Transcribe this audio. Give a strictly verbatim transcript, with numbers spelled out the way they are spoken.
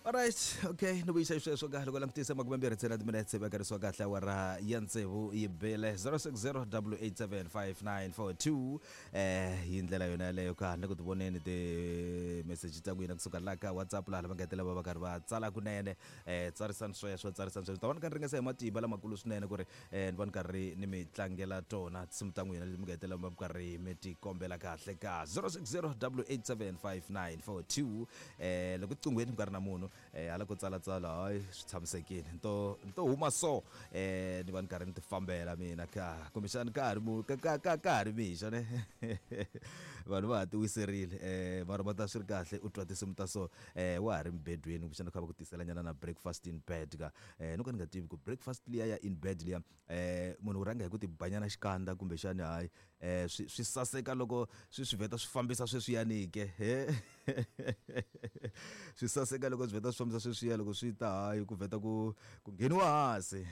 Alright, okay, ni vuyisa sweswo ka loko langutisa makume mbirhi ntsena timinetse vakarisiwa kahle awara ya tsevu yi bele zero six zero double eight seven five nine four two eh hi ndlela yona yaleyo ka ni ku ti voneni ti-message ta n'wina kusuka la ka WhatsApp laha va nga hetelela va va karhi va tsala kunene eh tsarisani sweswo tsarisani sweswo ta va ni ka ni ringesa hi matimba lamakulu swinene ku ri eh ni va ni karhi ni mi tlangela tona tinsimu ta n'wina leti mi nga hetelela va karhi mi ti kombela kahle ka zero six zero double eight seven five nine four two eh loko ticungweni ku nga ri na munhu eh hala ko tsalatsala hayi swi tshamisekile nto nto huma so eh ni va ni karhi ni ti fambela mina ka kumbexani ka ha ri mu ka ka ka ka ha ri mixo ne vanhu va ha ti wiserile eh mara va ta swi ri kahle u twa tinsimu ta so eh wa ha ri mbedweni kumbexana kha va ku tisela nyana na breakfast in bed ka eh no ka ni nga tivi ku breakfast liya ya in bed liya eh munhu u rhanga hi ku ti banyana xikandza kumbexani hayi eh swi swi saseka loko swi swi vheta swi fambisa sweswiyani ke he swi saseka loko swi vheta swi fambisa sweswiya loko swi ta hayi ku vheta ku ku ngheniwa hansi.